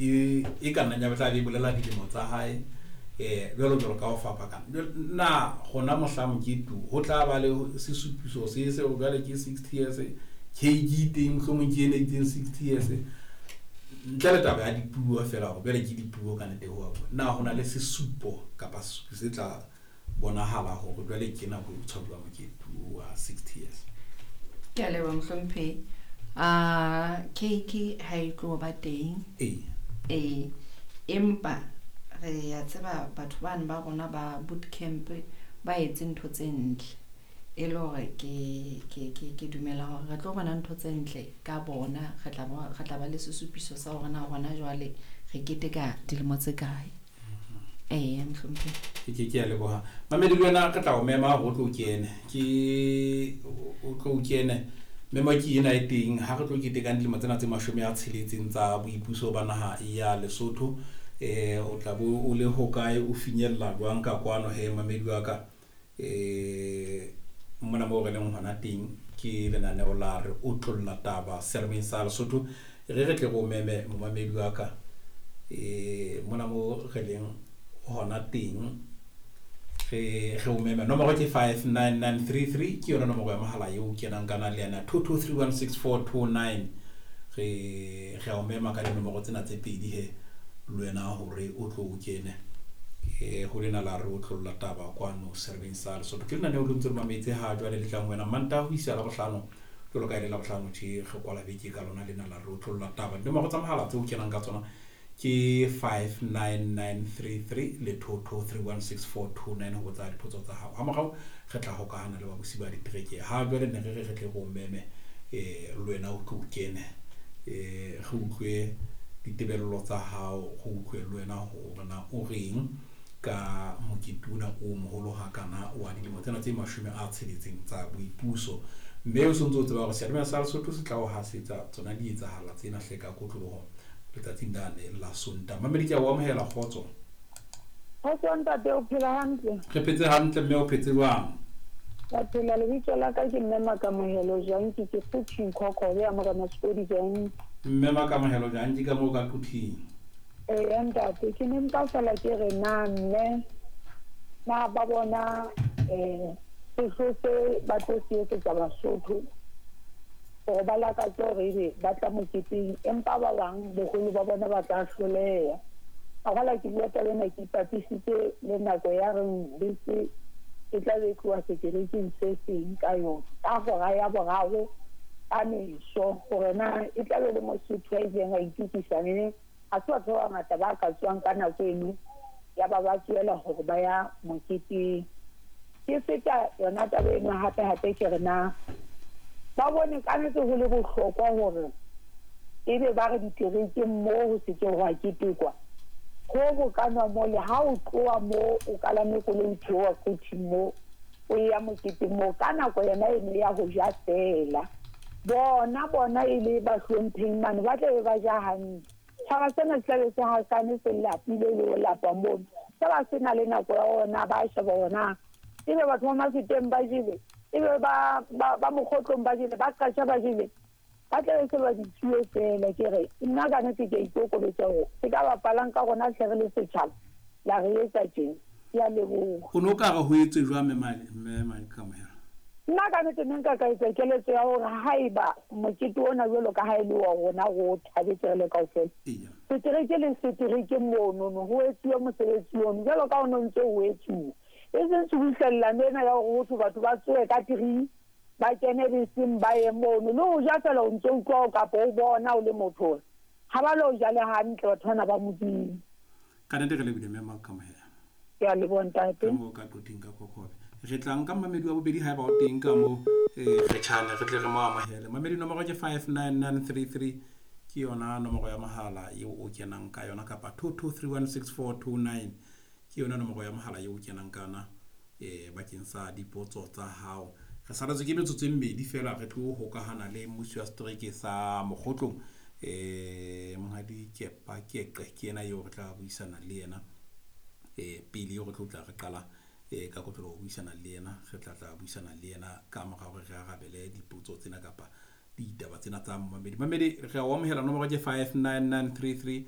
e ka nnang ya tla be bolela dilemo tsa hae, jwalo jwalo ka ho fapakana. Na gona mohla mokete ho tla ba le sesupiso se se jwale ke 60 years, cake teng mohlomong ke ene itseng 60 years, ntle le taba ya dipuo fela hore jwale ke dipuo ka nnete ho bua. Na ho na le sesupo kapa sesupo se tla bonahala hore jwale ke nako e tshwaruwa mokete wa 60 years? Ke a leboha, mohlomphehi. Cake ha e tlo ba teng. Ee, empa re ya tseba batho bane ba rona ba boot camp ba etse ntho tse ntle, e le hore ke dumela hore re tlo bona ntho tse ntle ka bona. Re tla ba le sesupiso sa hore na hona jwale re keteka dilemo tse kae. Ee, mohlomphehi. Ke a leboha, mamedi. Le wena re tla o mema hore o tlo kene, ke o tlo kene. Memo ke ena e teng ha re tlo ketekang dilemo tsena tse 60 tsa boipuso ba naha ya Lesotho. O tla bo o le hokae, o finyella jwang ka kwano he, mamedi wa ka? Mona moo re leng hona teng ke lenaneo la Re Otlolla Taba selemeng sa Lesotho. Re tle re o meme, momamedi wa ka. Mona mo re leng hona teng re o meme. Nomoro ke 59933, ke yona nomoro ya mohala eo kenang kana le yena 22316429. Re a o mema ka dinomoro tsena tse pedi he le wena hore o tlo o kene ho lena la Re Otlolla Taba kwano serveng sa Lesotho. Ke lenaneo le ntse le mametse ha jwale le tlang wena Mantaha ho isa Labohlano, jwalo ka e le Labohlano tje re kwala beke ka lona lena la Re Otlolla Taba. Dinomoro tsa mohala tseo kenang ka tsona ke 59933 le 22316429 ho botsa dipotso tsa hao. Ha morao re tla hokahana le babusi ba ditereke. Ha jwale ne re re re tle re o meme, le wena o tlo o kene, re utlwe ditebello tsa hao, re utlwe le wena hore na o reng ka mokete ona o moholo hakana wa dilemo tsena tse 60 tsa boipuso. Mme o sontso o tseba hore seyalemoya sa Lesotho se tla o hasetsa tsona dietsahala tsena hle ka kotloloho letsatsing lane la Sontaha. Mamedi, ke a o amohela. Kgotso. Kgotso ntate, o phela hantle? Re phetse hantle, mme o phetse jwang? Ka phela. Lebitso la ka ke mme Makamohelo Janki, ke Quthing, Khokhobe ya Morena Sekodi Janki. Mme Makamohelo Janki ka moo ka Quthing. Eya ntate, ke ne mpa fela ke re na mme na ba bona sehlo se ba tlo se etsetsa Basotho hore ba lakatse hore ebe ba tla moketeng, empa ba bang boholo ba bona ba tla hloleha. A ke bua taba ena ke ipapisitse le nako ya reng bese e tla be e tloha seterekeng se seng ka yona ka hora ya boraro ka meso, hore na e tla be le Mosotho a ileng a itukisa mme ha se batho ba bangata ba ka tswang ka nako eno ya ba ba tsoela hore ba ya moketeng. Ke feta yona taba eno hape hape ke re na ba bone ka nnete ho le bohlokwa hore ebe ba re diterekeng moo ho se ke hwa ketekwa ho bokanwa mole ha o tloha mo o kalame koloi, theoha Quthing mo o ya moketeng moo ka nako yona eno ya ho ja feela, bona e le bahlompheng mane ba tla be ba ja hantle. Tjhaba sena se tlabe se hasane, se lapile le ho lapa mono, se ba se na le nako ya ona ba sheba hona ebe batho ba Mafeteng ba jele, ebe ba Mokgotlong ba jele, ba Qasha ba jele, ba tlabe se ba ditsuwe fela. Ke re nna ka nnete ke a ikokobetsa hore se ka bapalang ka rona hle re le setjhaba la re etsa tjena. Ke a leboha. O ne o ka re ho etswe jwang, mme Makamohelo? Nna ka nnete ne nka ka etsa keletso ya hore haeba mokete ona jwalo ka ha e le wa rona, re o thabetse re le kaofela, setereke le setereke monono ho etsuwe mosebetsi ono jwalo ka ono ntse ho etsuwa, e seng tshubuhlellano ena ya hore hothwe batho ba tsohe ka 3 ba kene beseng ba ye mono le ho ja fela. O ntso utlwa kapa o bona o le motho hore ha ba lo ja le hantle batho bana ba Modimo. Ka nnete re lebile, mme Makamohelo. Ke a leboha ntate. Ka moo ka Quthing ka Khokhobe. Re tla nka mamedi wa bobedi haeba o teng ka moo, re tjhane re tle re mo amohele. Mamedi, nomoro ke 59933, ke yona nomoro ya mohala eo o kenang ka yona, kapa 22316429 ke yona nomoro ya mohala eo o kenang ka yona bakeng sa dipotso tsa hao. Re saletswe ke metsotso e mmedi fela re tlo hokahana le mmusi wa setereke sa Mokgotlong, monghadi Kepa Keqe. Ke yena eo re tla buisana le yena pele eo re tlo tla re qala ka kotloloho ho buisana le yena. Re tla tla buisana le yena ka mora hore re arabele dipotso tsena kapa ditaba tsena tsa mamedi. Mamedi, re a o amohela. Nomoro ke 59933.